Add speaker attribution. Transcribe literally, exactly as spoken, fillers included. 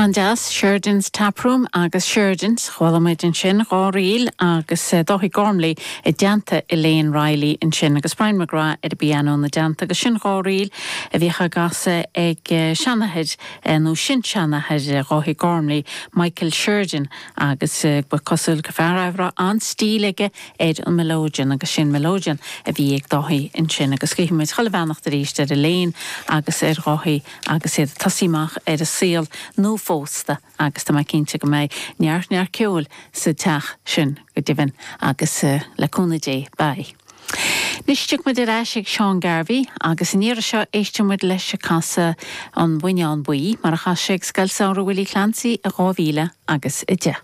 Speaker 1: An-deas Sheridan's Taproom agus Sheridan's chuala muid ansin dhá ríl agus eh, Dáithí Gormley i dteannta Elaine Riley ansin agus Brian McGrath ar an bpianó ina dteannta agus sin dhá ríl a bhí á gcasadh ag eh, seanathair eh, nó sin-seanathair Dháithí Gormley Michael Sheridan agus ba cosúil go fear a raibh an-stíl aige ar an melodeon agus sin melodeon a bhí ag Dáithí ansin agus guímid chuile bheannacht arís ar Elaine agus ar Dháithí agus iad ag tosú amach ar a saol nua phósta agus tá mé cinnte go mbeidh neart neart ceoil sa teach sin go deimhin agus uh, le cúnamh Dé beidh. Anois tiocfaidh muid ar ais ag Seán Garvey agus an iarraidh seo éistfimid leis ag casadh an Buinneán Buí mar a chas sé ag Scoil Samhraidh Willie Clancy i dhá mhíle agus a deich.